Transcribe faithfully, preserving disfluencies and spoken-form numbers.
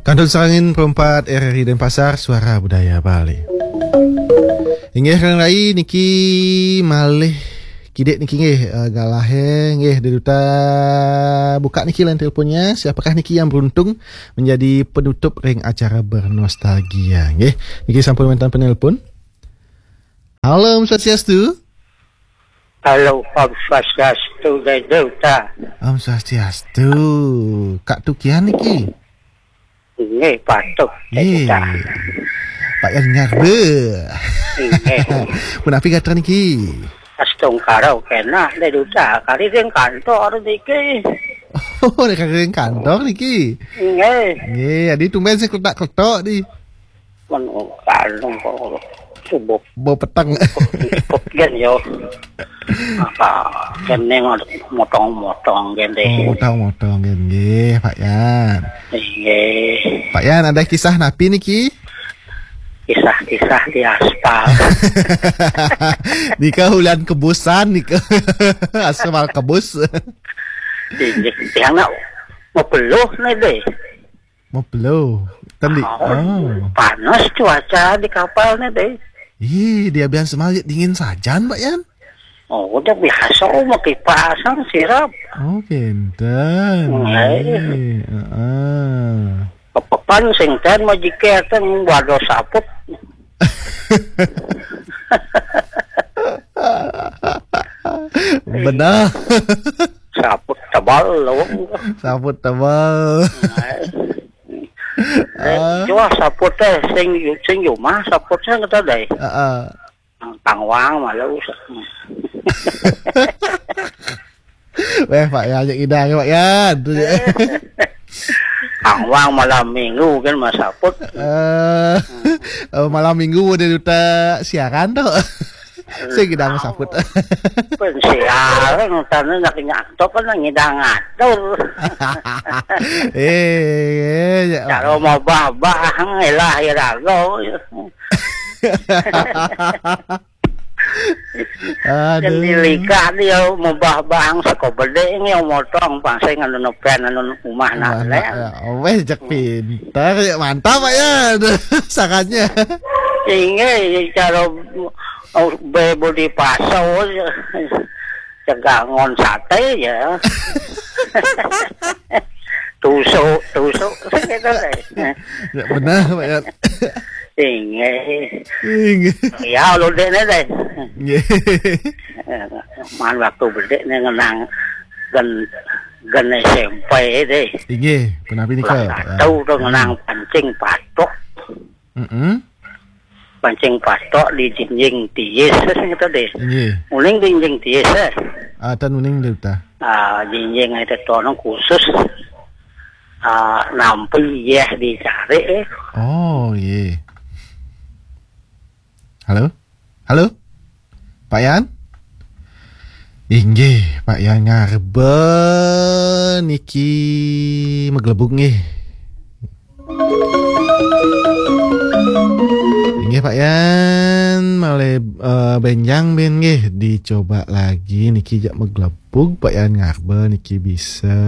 Kantun sareng perempat R R I Denpasar, Suara Budaya Bali. Inggih, Kang Rai, niki malih kidik niki nggih, eh, galahe nggih, Dek Duta, buka niki line teleponnya. Siapakah niki yang beruntung menjadi penutup ring acara bernostalgia nggih? Niki sampun wenten penelpon. Halo, Om Swastiastu. Halo, Om Swastiastu, Dek Duta. Om Swastiastu. Kak Tukian niki? Nggih, patuh, Dek Duta. Pak Yan Ngarbe. Nggih. Punapi gatra niki? Astungkara kena, Dek Duta. Kari ring kantor niki. Oh, nek kari ring kantor niki? Nggih. Nggih, adi tumben sing kletak-kletok di. Mun kalung kok subuh Bau peteng. Ikut gen yo. Apa kene motong-motong gen deh. Oh, motong-motong gen nggih, Pak Yan. Nggih. Pak Yan, ada kisah napi niki? Kisah-kisah di aspal. Nika ulian kebusan nika. Aspal kebus. Inggih, tiang nak mau peluh nih deh. Mau peluh. Tadi. Oh, oh. Panas cuaca di kapal nih deh. Ih, dia biasa malah dingin sajan, Pak Yan. Oh, udah biasa, oh, mau kipasan sirap. Oh, kenten. Nggih. Nggih, heeh. Kepepan sing ten mau jike ten waduh saput. Benar. Saput tebal lawang. Saput tebal. Nah. Ah. Jua saput teh sing sing jumah saput sing kata deh. Heeh. Tangwang malu. Weh, Pak Yan, cek idang, Pak Yan. Tu je. Tangwang malam minggu kan mas saput. Eh, oh, malam minggu dia duta siaran tu. Saya kidang saput. Pun siaran, tanda nak nyantok kan ngidang atur. Eh, eh, ya. Kalau mau bah-bah, elah irago. Aduh. Kan dilikah dia mau bah-bah ang seko bedek ini yang motong pasai nganu nepen anu umah nak. Wah, leh. Nak, ya. Weh, jak pintar, ya, mantap, Pak, ya. Aduh, sangatnya. Inggih, cara, oh, be budi paso, cegangon sate ya. Tusuk, tusuk, gitu deh. Ya, benar, Pak, ya. Inggih. Inggih. Ya, lo dek ni deh. Inggih. Man waktu bedek ni ngenang gen, gen S M P deh. Inggih, punapi nika, Pak, ya? Tahu tu ngenang pancing patok. Mm-mm. Pancing patok di jinjing tiis, sing kata deh. Inggih. Uning di jinjing tiis, eh. Ah, tan uning deh, ta. Ah, jinjing itu tono khusus, ah, nampi yeh dicari, eh. Oh, iya. Halo? Halo? Pak Yan? Inggih, Pak Yan Ngarbe niki meglebuk nggih. Inggih, Pak Yan, malih, eh, benjang bin nggih, dicoba lagi niki jak meglebuk Pak Yan Ngarbe niki bisa.